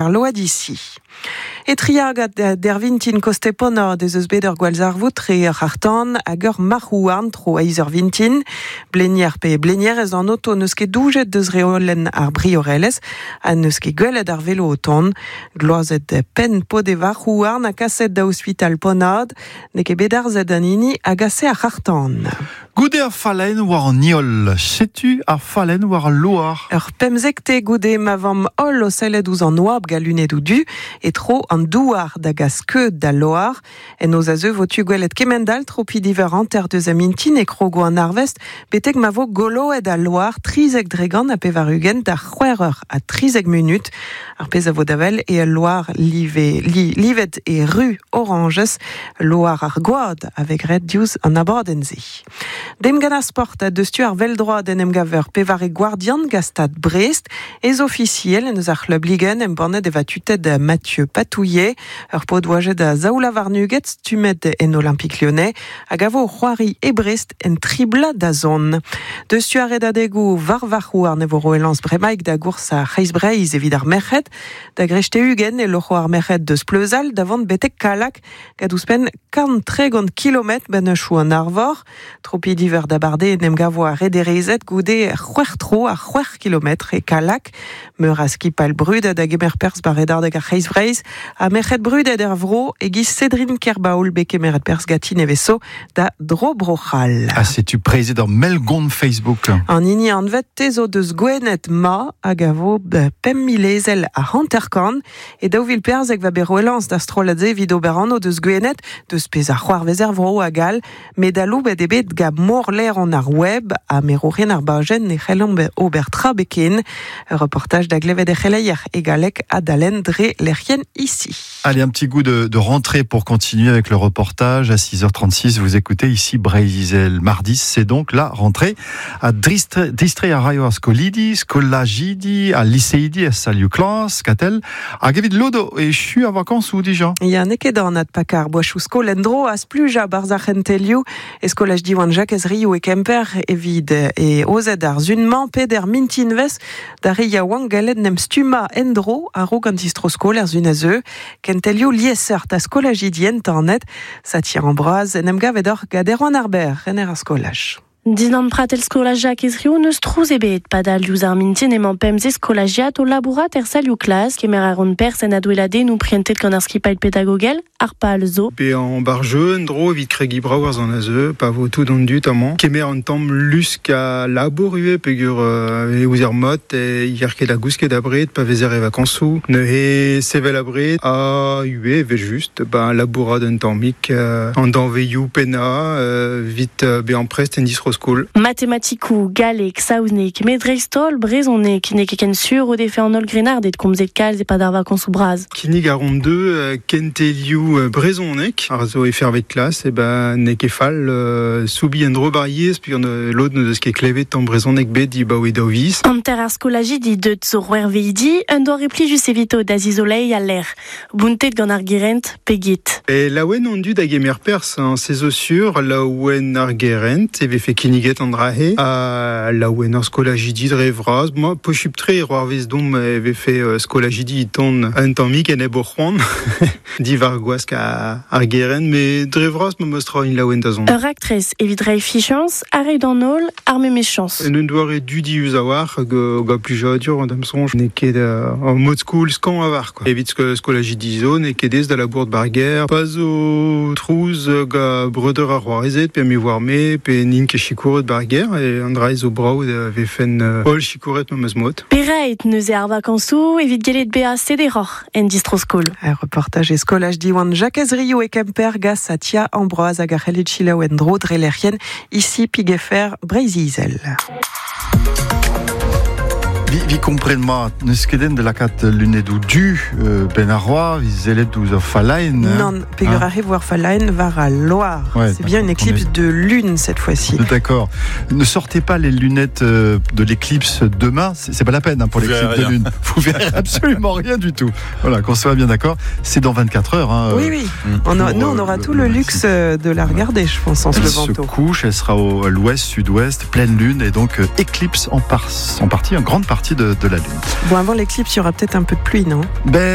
Ar load-ici. E triagad dervintin kostepona deus eus bet ur gwallzarvoud tre ur c'harr-tan hag ur marc'h-houarn tro eizh eur vintin. Blenier pe blenierez an oto n'eus ket doujet deus reolenn ar briorelezh ha n'eus ket gwelet ar velo o tont. Gloazet penn paotr e varc'h-houarn ha kaset da ospital Ponad. N'eo ket bet arzet an hini a gase ar c'harr-tan. Goude ar fallenn war an heol, setu ar fallenn war al loar. Ur pemzekte goude ma vamp holl o sellet ouzh an oabl gant lunedoù du e tro an douar da gas skeud d'al loar. En noz a zeu vo tu gwelet kement-all tropi diver hanter deus a mintin e krogo an arvest betek ma vo goloet al loar 93% da c'hwec'h eur ha 13 munut. Ar pezh a vo da wel eo al loar live, li, livet e ru orañjez, loar ar gwad a vez graet diouzh an abadenn-se. Demp gant ar sport ha deus tu ar vell-droad en em gaver pevare gwardian gant Stad Brest. Ez ofisiel en deus ar c'hlub Ligue 1 embannet e vatuted Mathieu Patouillet, ur paotr oajet a zaoulavarn-ugent stummet en Olympique Lyonnais, hag a vo o c'hoari e Brest en tri bloaz da zont. Deus tu ar redadegoù war varc'h-houarn e vo roet lañs bremaik da gours ar C'hreiz-Breizh evit ar merc'hed. Da greiste 20 e loc'ho ar merc'hed deus Pleuzal da vont betek Kallag gant ouzhpenn 130 kilometr bennachoù an arvor. Tropi diver d'abardaez en em gavo ar rederezed goude c'hwec'h tro a c'hwec'h kilometr e Kallag. Meur a skipal brudet a gemer perzh war redadeg ar C'hreiz-Breizh ha merc'hed brudet er vro e-giz Cédrine Kerbaol bet kemeret perzh ganti nevez-zo da Dro Bro-C'hall. Ha setu preizhet ur mell-gont Facebook. An hini anvet te zo deus Gwened ma hag a vo 5,000 ezel ha 50. E 2014 va bet roet lañs d'ar strollad-se evit ober anv deus Gwened, deus pezh a c'hoarvez er vro hag all, met aloubet eo bet gant morlaeron ar web ha merourien ar bajenn ne c'hellomp ober tra beken. Ur reportaj da glevet er c'heleier e galleg adalen dre lec'hienn ici. Allez, un petit goût de, de rentrée pour continuer avec le reportage. À 6h36, vous écoutez ici Breizh-Izel. Mardi, c'est donc la rentrée. Ha distreiñ a raio ar skolidi, skolajidi, al liseidi er salioù klas, Katell. Hag evit lod echu ar vakañsoù dija. Ya, n'eo ket anat pakañ ar boachoù skol en-dro ha splujañ 'barzh ar c'hentelioù. E skolaj Diwan Jakez Riou e Kemper evit e ozet ar sun-mañ peder mintinvezh d'ar re yaouank gallet 'n em stummañ en-dro a-raok an distro-skol er sun a zeu. Kentelioù liesseurt ha skolajidi entanet. Satir an Braz en em gavet oc'h gant Erwan ar Berr, rener ar skolaj. Dindan pratell skolaj Jakez Riou n'eus trouz ebet. Padal diouzh ar mintin emañ pemzek skolajiad o labourat er salioù klas. Kemer a ran perzh en adweladennoù prientet gant ar skipailh pedagogel, ar pal zo. Bezañ bar jeu en-dro evit kregiñ brav ar zon a zeu, pa vo tout an dud amañ. Kemer un tamm lusk a labour ivez peogwir e ouzer mat e yer ket da gousket abred pa vezer e vakañsoù. Neuze sevel abred ha ivez evel-just ba labourat un tammig an danvezioù pennañ evit bezañ prest en distro-skol. Matematikoù, galleg, saozneg, met dreist-holl brezhoneg n'eo ket ken sur o defe an holl grennarded komzet kalz e-pad ar vakañsoù bras. Kinnig a ran deu kentelioù brezhoneg ar zo e fervet klas e ben n'eo ket fall soubiñ en-dro bar yezh peogwir lod n'o deus ket klevet tamm brezhoneg bet dibaoe daou viz. Hanter ar skolajidi deut zo c'hwerveidi, un doare plijus evito da zizoleiñ al lec'h. Bountet gant ar gerent pe get. E laouen an dud a gemer perzh, hein, se zo sur, laouen ar gerent e vefe kinniget an dra-se, ha laouen ar skolajidi dre vras. Ma, posupl-tre e c'hoarvez domp e vefe skolajidi e tont un tammig enep o c'hoant diwar gwask ar gerent, met dre vras memes tra int laouen da zont. Ur raktres evit reiñ fichañs ha reiñ d'an holl ar memes chañs. En un doare dudius a-walc'h hag gant plijadur d'am soñj n'eo ket ur mod skol skañv a-walc'h. Evit skolajidi zo n'eo ket aes da labourat 'bar gêr. Pa zo trouz gant breudeur ar c'hoarezed pe me 'oar me pe n'int ket sikouret 'bar gêr e an dra zo brav da vefen holl sikouret memes mod. Perait neuze ar vakañsoù evit gellet bezañ sederoc'h en distro-skol. Ur reportaj e skolaj Diwan Jakez Riou e Kemper gant Satia Ambroise hag a c'hellit selaou en-dro dre lec'hienn ici Pigefer Breizh-Izel. Vi, vi kompren mat, n'eus ket den da lakaat lunedoù du ben ar roa, vi sellet ouzh ur fallaenn. Hein. Non, peogwir ah. arrive war fallaenn war al loar. Ouais, C'est bien une éclipse de lune cette fois-ci. D'accord. Ne sortez pas les lunettes de l'éclipse demain, c'est pas la peine hein, pour l'éclipse de lune. Vous verrez absolument rien du tout. Voilà, qu'on soit bien d'accord. C'est dans 24 heures. Hein, oui, oui. On a, nous, on aura tout le luxe de la regarder, je pense, en se levant tôt. Elle se couche, elle sera au, à l'ouest, sud-ouest, pleine lune, et donc éclipse en, par, en partie, en grande partie de, de la lune. Bon, avant l'éclipse, il y aura peut-être un peu de pluie, non Ben,